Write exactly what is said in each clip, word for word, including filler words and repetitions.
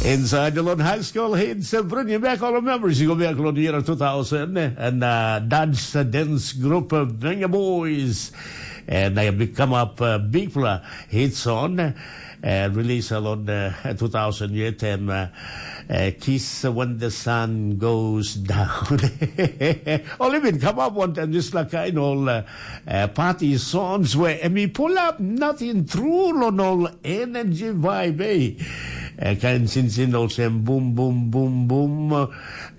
Inside the Lord High School hits, uh, bringing back all the memories. You go back on the year two thousand, and uh, that's the dance group of Venga Boys. And I become up uh, big fella hit song, uh, release along uh, two thousand eight, and uh, uh, Kiss When the Sun Goes Down. Only been come up one time, just like I know, uh, uh, party songs where and we pull up nothing true on all energy vibe, eh? Uh, kain sinsin olsem boom, boom, boom, boom.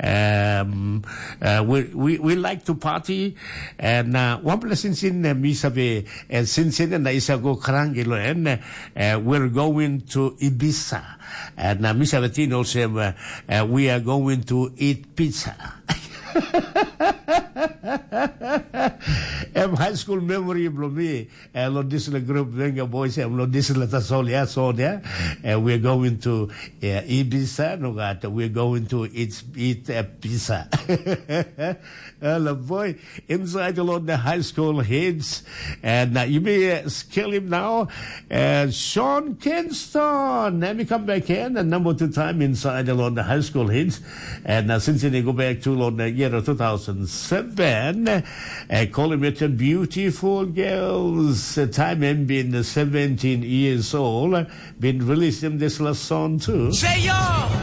Um, uh, we, we, we like to party. And uh, one place sinsin uh, mi save, uh, sinsin and isa go karangilo and uh, we're going to Ibiza. And uh, mi save tin olsem uh, uh, we are going to eat pizza. Em high school memory blo mi. Eh, lo dispela group Venga Boys, em lo dispela tasol ya, so ya. Eh, we're going to uh, Ibiza, no gat, we're going to eat, eat uh, pizza. Hello, boy. Inside a lot of the high school heads. And uh, you may uh, scale him now. Uh, Sean Kingston. Let me come back in. And number two time inside a lot of the high school heads. And uh, since you go back to London, year two thousand seven, uh, call him a beautiful girls. Uh, time him being seventeen years old, uh, been releasing this last song too. Say yo!